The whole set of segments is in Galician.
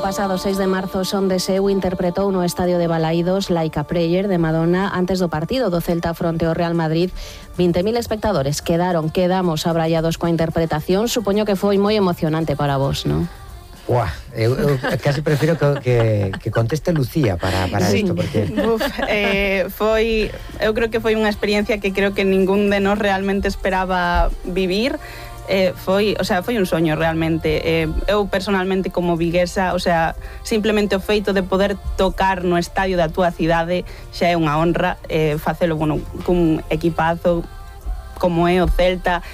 pasado 6 de marzo Son de Seu interpretou no estadio de Balaídos Like a Prayer de Madonna antes do partido do Celta fronte ao Real Madrid. 20.000 espectadores quedamos abrallados coa interpretación. Supoño que foi moi emocionante para vos, non? Buah, eu casi prefiro que conteste Lucía para isto, porque... Eu creo que foi unha experiencia que creo que ningún de nós realmente esperaba vivir. Foi un soño realmente. Eu personalmente como viguesa, simplemente o feito de poder tocar no estadio da túa cidade xa é unha honra. Facelo, cun equipazo como é o Celta,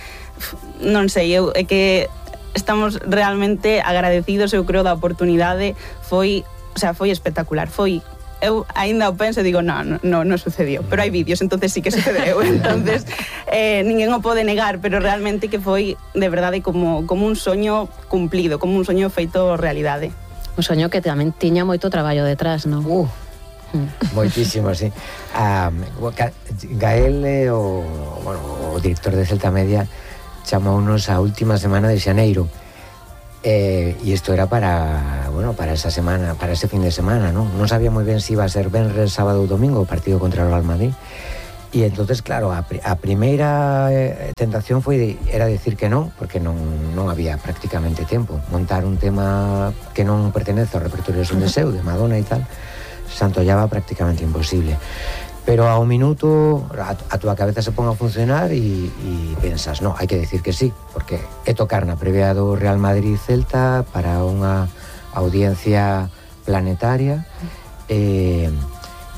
non sei, é que estamos realmente agradecidos, eu creo, da oportunidade. Foi espectacular. Eu aínda o penso e digo, non sucedió, pero hai vídeos, entonces sí que sucedeu. Entonces, ninguén o pode negar, pero realmente que foi, de verdade, como un soño cumplido, como un soño feito realidade. Un soño que tamén tiña moito traballo detrás, non? Moitísimo, sí. Gael, o director de Celta Media, chamounos a última semana de xaneiro. E isto era para esa semana, para ese fin de semana, non sabía moi ben se iba a ser venres, sábado ou domingo o partido contra o Real Madrid. E entonces, claro, a primeira tentación era decir que non, porque non había prácticamente tempo. Montar un tema que non pertenece ao repertorio de Son de Seu, de Madonna e tal, se antollaba prácticamente imposible. Pero ao minuto a túa cabeza se pon a funcionar e pensas, hai que decir que sí, porque é tocar na previa do Real Madrid-Celta para unha audiencia planetaria, e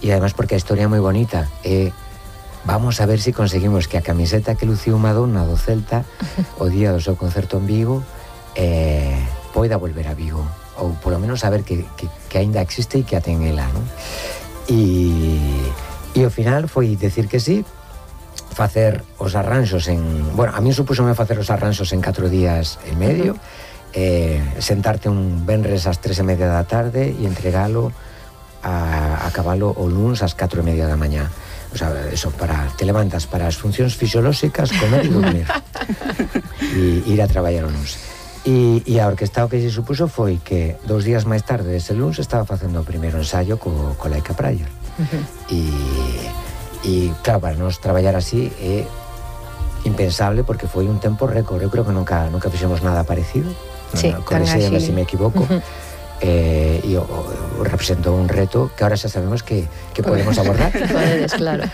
además porque a historia é moi bonita. Vamos a ver se conseguimos que a camiseta que luciu Madonna do Celta o día do seu concerto en Vigo poida volver a Vigo, ou polo menos saber que aínda existe e que a ten ela, non? E ao final foi decir que sí, facer os arranxos a mí supúxome facer os arranxos en 4 días e medio, sentarte un venres ás 3:30 da tarde e entregalo a cabalo o luns ás 4:30 da mañá. Eso, te levantas para as funcións fisiolóxicas, comer e dormir e ir a traballar o luns. E a orquesta o que se supuso foi que 2 días máis tarde ese luns estaba facendo o primeiro ensayo co Like a Prayer. E claro, para nos traballar así é impensable, porque foi un tempo récord. Eu creo que nunca fixemos nada parecido, correxéme se me equivoco. E representou un reto que ahora xa sabemos que podemos abordar. Podedes, claro.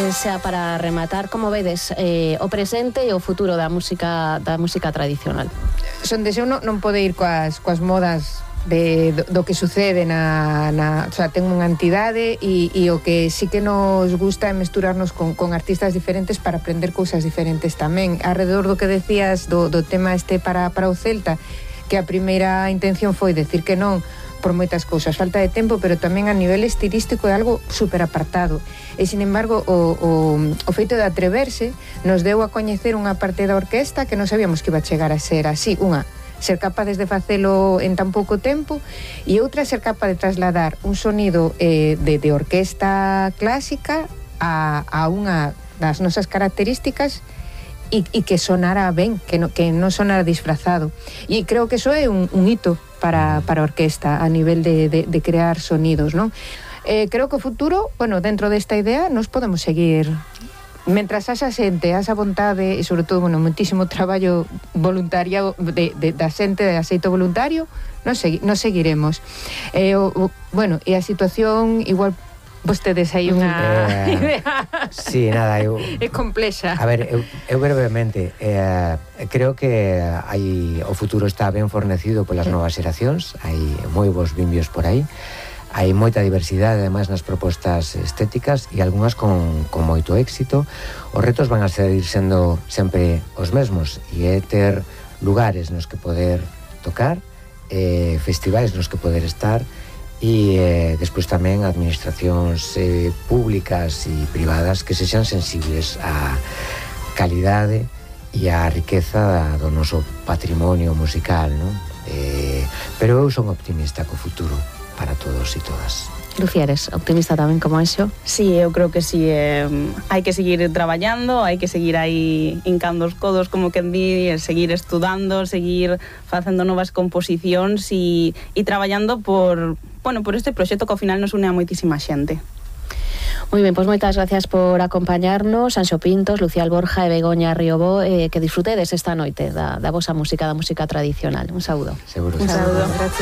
Xa para rematar, como vedes o presente e o futuro da música tradicional? Son de Seu non pode ir coas modas do que sucede ten unha entidade e o que sí que nos gusta é mesturarnos con artistas diferentes para aprender cousas diferentes tamén. Alrededor do que decías do tema para o Celta, que a primeira intención foi decir que non por moitas cousas, falta de tempo, pero tamén a nivel estilístico é algo super apartado. E, sin embargo, o feito de atreverse nos deu a coñecer unha parte da orquesta que non sabíamos que iba a chegar a ser así. Ser capaces de facelo en tan pouco tempo, e outra, ser capaz de trasladar un sonido de orquesta clásica a unha das nosas características e que sonara ben, que non sonara disfrazado. E creo que eso é un hito para a orquesta a nivel de crear sonidos, non? Creo que o futuro, dentro desta idea, nos podemos seguir. Mentras haxa xente, haxa vontade e, sobre todo, moitísimo traballo voluntario da xente de aceito voluntario, nos seguiremos. E a situación, igual vostedes hai unha idea. Sí, nada, é complexa. A ver, eu brevemente creo que o futuro está ben fornecido polas novas xeracións, hai moi bons bimbios por aí, hai moita diversidade ademais nas propostas estéticas e algunhas con moito éxito. Os retos van a seguir sendo sempre os mesmos, e é ter lugares nos que poder tocar, festivais nos que poder estar, e despois tamén administracións públicas e privadas que sexan sensibles á calidade e á riqueza do noso patrimonio musical, non? Pero eu son optimista co futuro para todos e todas. Lucía, eres optimista tamén como Enxo? Sí, eu creo que sí. Hai que seguir traballando, hai que seguir aí hincando os codos, como quen di, seguir estudando, seguir facendo novas composicións e traballando por este proxecto que ao final nos une a moitísima xente. Moi ben, pois moitas gracias por acompañarnos, Anxo Pintos, Lucía Alborja e Begoña Riobó, que disfrutedes esta noite da vosa música, da música tradicional. Un saúdo. Seguro. Un saúdo. Gracias.